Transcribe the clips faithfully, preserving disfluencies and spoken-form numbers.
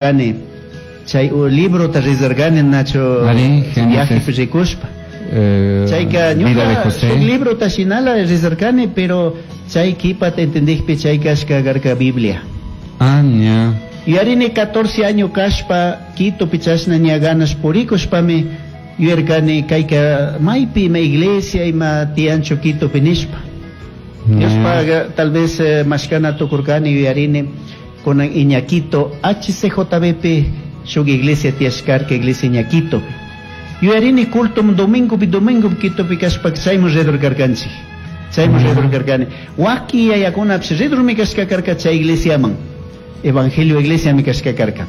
Chay librota rezargani nacho viaje rikushpa. Eh, Chayka vida de ñuka José. shuk librota shinala rezarkani, pero chay kipata entendikpi chay kashka karka Biblia. Ah, ña. Yuyarini catorce año kashpa Quitopi chashna ña ganas purikushpami yuyarkani kayka maypi ima iglesia ima tiyanchu Quitopi nishpa. Diospaka tal vez eh, mashkana tukurkani yuyarini kunan Iñaquito H C J B pi shuk iglesia tiyashkarka, iglesia Iñaquitopi. Yuyarini culto domingopi domingopi Quitopi kashpa chayman ridor karkanchik. Chayman ridor karkani. Waki yayakunapish ridormi kashka karka chay iglesiaman. Evangelio iglesiami kashka karka.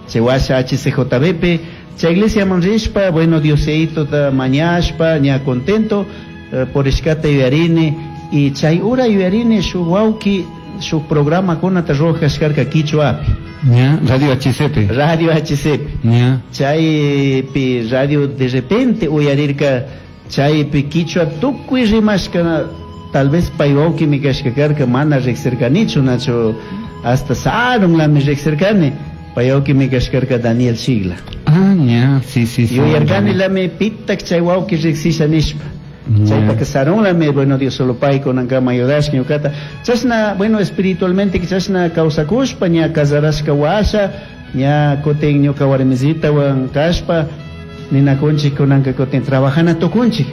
Chay washa H C J B pi chay iglesiaman rishpa, bueno, Diositota mañashpa, ña contento eh, purishkata yuyarini y chay hora yuyarini shuk wawki shuk programakunata ruwak kashkarka quichuapi. Ña, Radio H C P. Radio H C P. Ña. Chaypi radio de repente uyarirka chaypi quichua tukuy rimashka, tal vez pay wawkimi kashka karka, mana riqsirkanichu nacho, hasta sarunlami riqsirkani, pay wawkimi kashkarka Daniel Shigla. Ah, ña, sí, sí, sí. Yuyarkanilami pitak chay wawki riqsisha nishpa. Ña. Chaypaka sarunlami, bueno, Dios solo pay kunankama ayudashka ñukata. Chashna, bueno, espiritualmente chashna kawsakushpa ña casarashka washa ña kutin ñuka warmisitawan kashpa ninakunchik kunanka kutin trabajana tukunchik.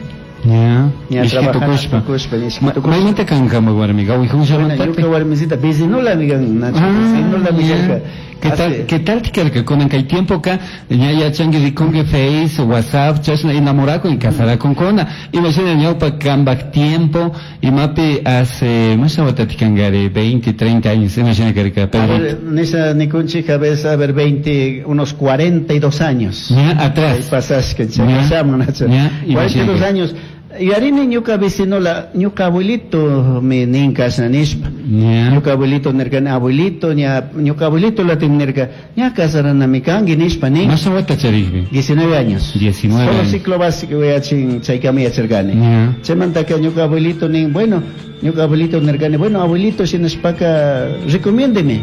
Ña. Ña Ishki trabajana tukushpa. tukushpa, ishki Ma- tukushpa. Maymanta kan kanpak warmi? Bueno, Gawijunllamanta. ñuka warmisita vecinolami kan, Nacho, Ah, vecinolami ña. karka. ¿Qué tal, Hace- qué tal karka? Kunan kay tiempo ka ña yachanki rikunki Face, WhatsApp, chashna enamorakun y casarakunkuna. Imagina ñawpa kambak tiempo, imapi hace, masha watati kankari, veinte, treinta años, imagina karka, A Pedrito. ver, nisha nikunchik a veces, a ver, veinte, unos cuarenta y dos años. Ña, atrás. Ahí pasashka, Ña. chayashamun, Nacho. Ña, cuarenta y dos imagina. años. Yuyarini ñuka vecinola, ñuka abuelito mi nin kashna nishpa. Ña. Ñuka abuelito nirkani, abuelito, ña, ñuka abuelito latin nirka, ña casaranami kanki nishpa nin. Masha wata charikpi. diecinueve años. diecinueve Solo años. ciclo básico yachin chaykama yacharkani. Ña. Chaymantaka ñuka abuelito nin, bueno, ñuka abuelito nirkani, bueno, abuelito, shinashpaka, recomiéndeme.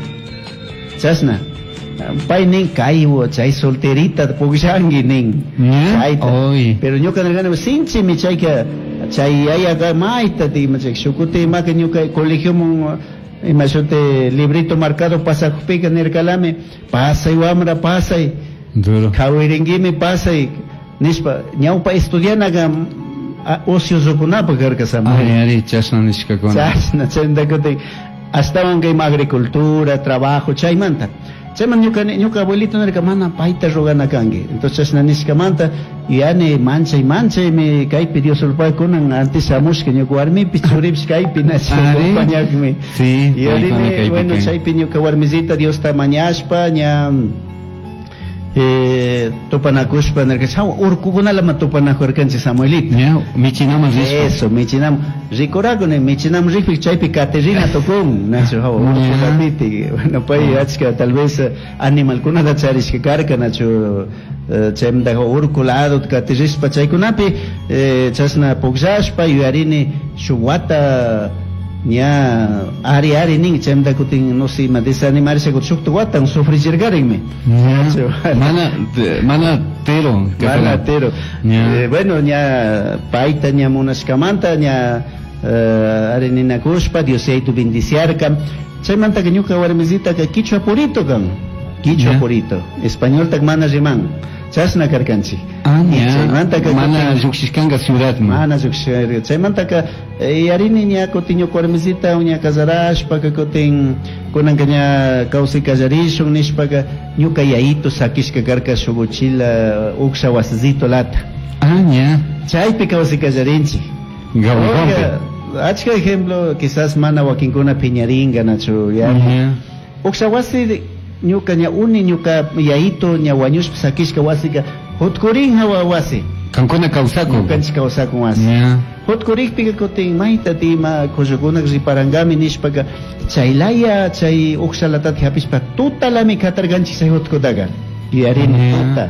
Chashna. Pay nin kaywo, chay solterita pukllanki nin. Ña. Chayta. Oy. Pero ñuka nirkani, sinchimi chayka, chay yayaka mayta ima chay shukuti imaka ñuka colegiomun ima shuti librito marcado pasakupika nirkalami, pasay wamra, pasay. Duro. Kawiringuimi, pasay nishpa. Ñawpa estudianaga ociosokunapaq karka, Samuel. Ari, ari, chashna nishkakuna. Chashna chayta kutin ashtawan kay agricultura trabajo chaymanta chayman ñuka ñuka abuelito nirka, mana payta rogana kanki. Entonces chashna nishkamanta yani manchay manchaymi kaypi Dios kunan antes shamushka ñuka warmipish churipish kaypi nacho Ari. acompañakmi. Sí, Y paykuna arini, kaypi bueno, kan. chaypi ñuka warmisita Diosta mañashpa ña eh, tupanakushpa nirka chawa urkukunalama tupanakurkanchik, Samuelito. Ña, michinaman rishpa. Eso, michinam rikurakuni, michinam rikpi chaypi Caterina tukun, nacho, hawa urkukapiti. Bueno, pay achka tal vez eh, animalkunata charishka karka, nacho, eh, chaymanta urku lado katirishpa chaykunapi eh, chashna pukllashpa yuyarini shuk wata ña ari ari nin, chaymanta kutin no sé ima desanimarisha kutin shukta watan sufrichirkarinmi. Ña. Mana, mana tero. Mana tero. Ña. Eh, bueno, ña payta ña munashkamanta ña eh, ari ninakushpa Dios yaytu bendiciarka. Chaymantaka ñuka warmisitaka quichua purito kan. Quichua Ya. purito. Españoltak mana riman. Chashna karkanchik. Ah, Y ña. chaymantaka Mana kutin- llukshishkanka ciudadman. mana llukshirka. Chaymantaka eh, yarini ña kutin ñuka warmisita ña casarashpaka kutin kunanka ña kawsay kallarishun nishpaka ñuka yayito sakishka karka shuk uchila uksha wasizito lata. Ah, ña. Chaypi kawsay kallarinchik. Gawijompi. Oiga, achka ejemplo, quizás mana wakinkuna piñaringa, nacho, ya. Ña. Uksha wasi ñuka ña uni ñuka yayito ña wañushpa sakishka wasika hutkurin hawa wasi. Kankuna kawsakun. Ñukanchik kawsakun wasi. Ña. Hutkurikpika kutin mayta tima kullukuna riparangami nishpaka chaylaya chay ukshalatata hapishpa tutalami katarkanchik chay hutkutaka. Yuyarini Ya. tuta.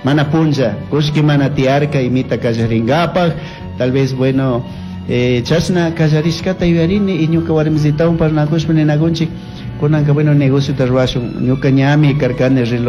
Mana punlla, kullki mana tiyarka imita kallaringapaj, tal vez, bueno, eh, chashna kallarishkata yuyarini y ñuka warmisitawan parlanakushpa ninakunchik Kunanka bueno negociota ruwashun, ñuka ñami karkani reloj.